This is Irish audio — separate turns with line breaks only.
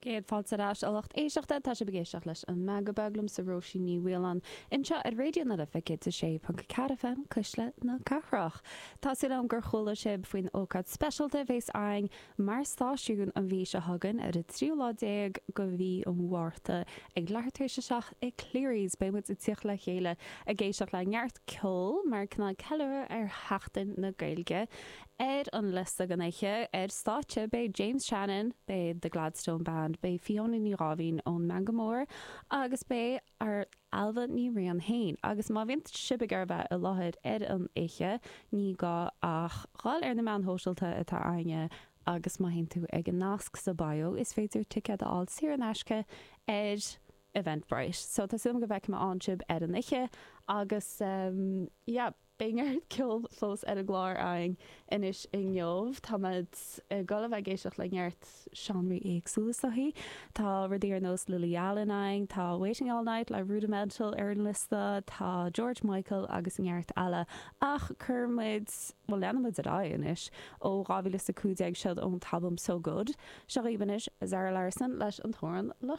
Céad fáilte ar ais, a lucht éisteachta. Tá sibh ag éisteacht leis An Meangadh Beag liomsa Róisín Ní Mhaoláin anseo ar Raidió na Life 106.4 FM, Cuisle na Cathrach. Tá súil agam gur chuala sibh faoin ócáid speisialta a bhéas againn mar stáisiún an mhí seo chugainn ar an tríú lá déag de mhí an Mhárta ag leathuair tar éis a 7 i Cleary's. Beidh muid ag tíocht le chéile ag éisteacht le neart ceoil mar cineál ceiliúradh ar Sheachtain na Gaeilge. Ar an liosta don oíche ar stáitse beidh James Shannon, beidh The Gladstone Band, beidh Fiona Ní Dháimhín ón Meangadh Mór agus beidh ár Ailbhe Ní Riain féin. Agus má bhíonn sibh ag iarraidh bheith i láthair ar an oíche ní gá ach dhul ar na meáin shóisialta atá againne agus má théann tú ag an nasc sa bio is féidir ticéad a fháil saor in aisce ar Eventbrite. So tá súil agam go bhfeicfidh mé ann sibh ar an oíche agus yeah. Beidh neart ceoil fós ar an gclár againn anois inniu. Táimid ag dul a bheith ag éisteacht le neart seánraí éagsúla is dóichí. Tá rudaí ar nós Lily Allen againn, tá Waiting All Night le Rudimental ar an liosta, tá George Michael agus neart eile. Ach cuirfidh muid, bhuel leanfaidh muid ar aghaidh anois ó 2015 seod ón t-albam So Good. Seo dhaoibh anois Zara Larsson leis an t-amhrán Lusher.